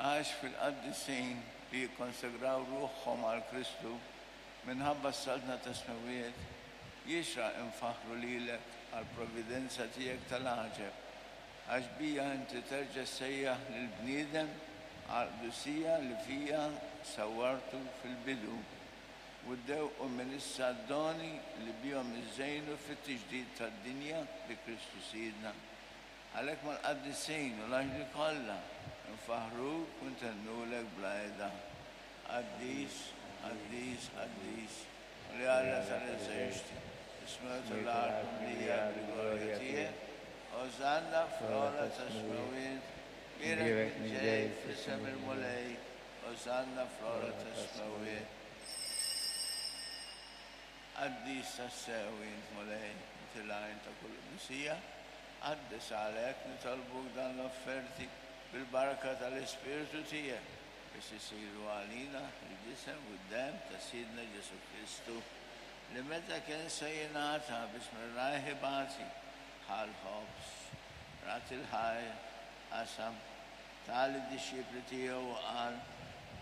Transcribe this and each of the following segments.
Għax fil-qaddisin li jikkonsagraw ruħhom għal Kristu minħabba s-Saltna tas-Smewwiet, jixraq infaħħru lilek għall-providenza tiegħek tal-għaġeb, għax bija inti terġa' ssejjaħ lill-bniedem għall-qdusija li fija sawwartu fil-bidu, u ddewqu minn issa d-doni li bihom iżżejnu fit-tiġdid tad-dinja bi Kristu Sidna. Għalhekk mal-qaddisin u l-anġli kollha nfaħħruk u ntennulek bla heda, Qaddis, qaddis, qaddis, Mulej Alla tal-eżerċti, is-smewwiet u l-art mimlija bil-glorja tiegħek. Osanna fl-ogħla tas-smewwiet, bierek min ġej f'isem il-Mulej, Osanna fl-ogħla tas-smewwiet. Qaddis tassew int, Mulej, inti l-għajn ta' kull qdusija. Qaddes għalhekk, nitolbuk dan l-offerti bil-barka tal-Ispirtu tiegħek, biex isiru għalina l-ġisem u d-demm ta' Sidna Ġesù Kristu, li meta kien se jingħata biex minn rajh ibati, ħa l-ħobż, radd il-ħajr, qasam, ta lid-dixxipli tiegħu u qal,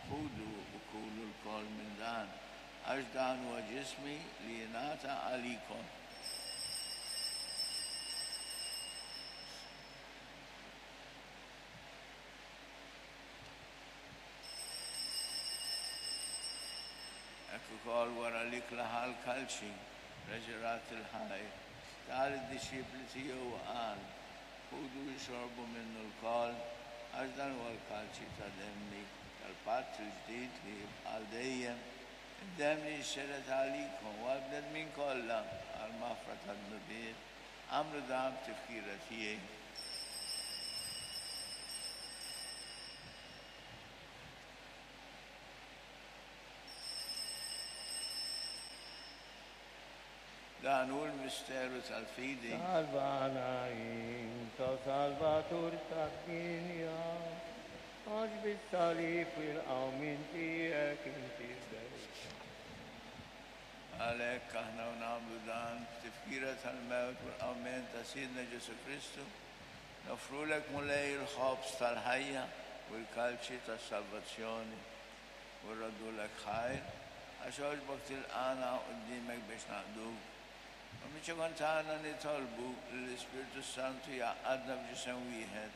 Ħudu u kulu lkoll minn dan, għax dan huwa ġismi li jingħata għalikom. Hekk ukoll wara l-ikla ħa l-kalċi, reġa' radd il-ħajr, ta lid-dixxipli tiegħu u qal, Ħudu u xorbu minnu lkoll, għax dan huwa l-kalċi ta' demmi, tal-patt il-ġdid li jibqa' għal dejjem, id-demm li jixxerred għalikom u għall-bnedmin kollha għall-maħfra tad-dnubiet. Agħmlu dan b'tifkira tiegħi. Dan hu l-misteru tal-fidi. Salvana int, O Salvatur tad-dinja, għax bis-salib u l-qawmien tiegħek inti fdejtna. Għalhekk aħna u nagħmlu dan b'tifkira tal-mewt u l-qawmien ta' Sidna Ġesù Kristu, noffrulek Mulej il-ħobż tal-ħajja u l-kalċi tas-salvazzjoni. U rroddulek ħajr, għax għoġbok tilqagħna quddiemek biex naqduk. U miċ-ċokon tagħna nitolbu li l-Ispirtu s-Santu jgħaqqadna f'ġisem wieħed,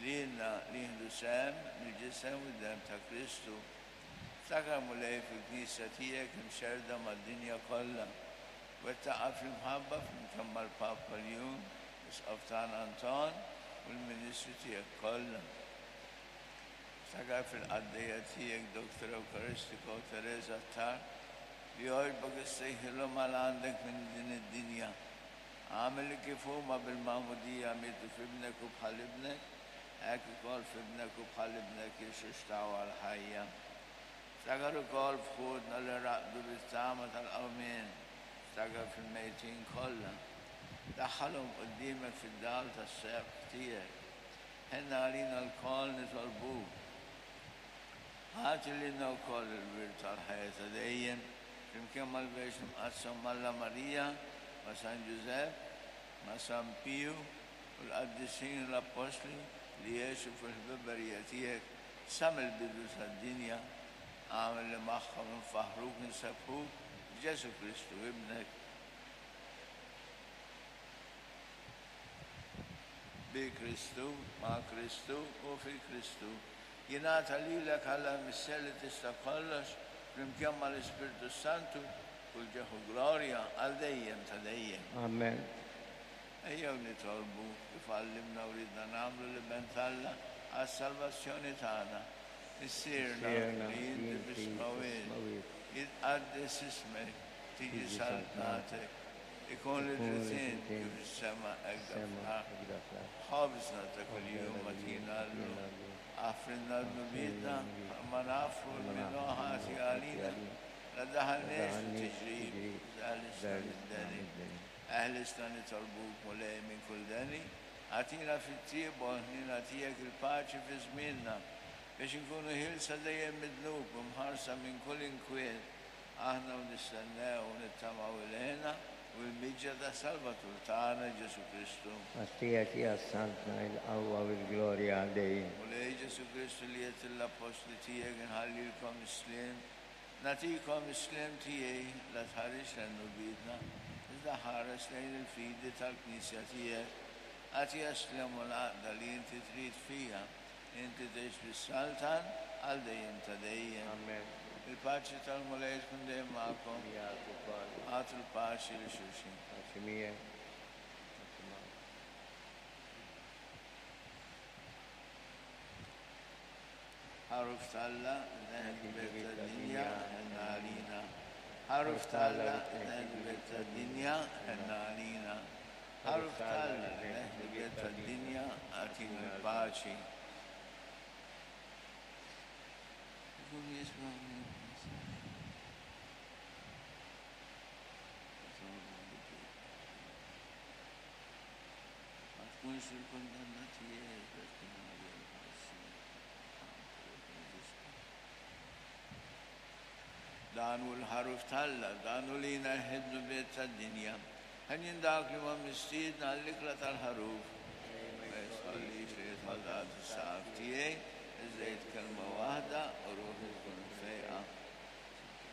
lilna li nieħdu sehem mill-ġisem u d-demm ta' Kristu. Ftakar, Mulej, fil-Knisja tiegħek imxerrda mad-dinja kollha. Wettaqha fl-imħabba flimkien mal-Papa Ljun, l-Isqof tagħna Anton, u l-ministri tiegħek kollha. Ftakar fil-qaddejja tiegħek Doctor Eucaristico Teresa Attard, li għoġbok issejħilhom għal għandek minn din id-dinja. Agħmel li kif huma bil-magħmudija mietu f'Ibnek u bħal Ibnek, hekk ukoll f'Ibnek u bħal Ibnek jirxuxtaw għall-ħajja. Ftakar ukoll f'ħutna li raqdu bit-tama tal-qawmien, ftakar fil-mejtin kollha. Daħħalhom quddiemek fid-dawl tas-sebħ tiegħek. Ħenn għalina lkoll nitolbuk. Agħti lilna wkoll il-wirt tal-ħajja ta' dejjem, flimkien mal-Verġni Mqaddsa Omm Alla Marija, ma' San Ġużepp, ma' San Piju u l-qaddisin u l-appostli li għexu fil-ħbiberija tiegħek sa mill-bidu tad-dinja. Agħmel li magħhom infaħħruk u nsebbħuk b'Ġesù Kristu Ibnek. Bi Kristu, ma' Kristu u fi Kristu, jingħata lilek Alla l-Missier li tista' kollox, flimkien mal-Ispirtu s-Santu, kull ġieħ u glorja għal dejjem ta' dejjem. Amen. Ejjew nitolbu, kif għallimna u riedna nagħmlu l-Iben t'Alla għas-salvazzjoni tagħna. Missierna li inti fis-smewwiet, jitqaddes ismek, tiġi saltnatek, Ikun li trid int kif fis-sema hekk fl-art. Ħobżna ta' kuljum agħtina llum. Aħfrilna dnubietna bħalma naħfru 'l min hu ħati għalina. La ddaħħalniex fit-tiġrib, iżda eħlisna mid-deni. Eħlisna nitolbuk, Mulej, minn kull deni. Agħtina fit-tjieba u l-ħniena tiegħek il-paċi fi żmienna, biex inkunu ħielsa dejjem mid-dnub u mħarsa minn kull inkwiet. Aħna u nistennew u nittamaw il-hena u u l-miġja tas-Salvatur tagħna Ġesù Kristu. Għax tiegħek hija s-saltna, il-qawwa u l-glorja għal dejjem. Mulej Ġesù Kristu li għedt lill-appostli tiegħek inħallilkom is-sliem, nagħtikom is-sliem tiegħi, la tħarisx lejn dnubietna, iżda ħares lejn il-fidi tal-Knisja tiegħek. Agħtiha s-sliem u l-għaqda li inti trid fiha, inti tgħix bis-saltan għal dejjem ta' dejjem. Amen. Il-paċi tal-Mulej tkun dejjem magħkom. Miegħek ukoll. Agħtu l-paċi lil xulxin. Paċi miegħek. Paċi magħek. Ħaruf t'Alla, neħed il-belt tad-dinja, ħenna għalina. Ħaruf t'Alla, neħed il-belt tad-dinja, ħenna għalina. Ħaruf t'Alla, neħed il-belt tad-dinja, agħtina l-paċi. Ikun jisma' Ma tkunx il-kundanna tiegħi iżda tkun għalija l-ħelsien. Dan hu l-ħaruf t'Alla, dan hu li jneħħi d-dnubiet tad-dinja. Henjin dawk li huma mistiedna għall-ikla tal-ħaruf. Ma jistħollix li jidħol daqt is-saqaf.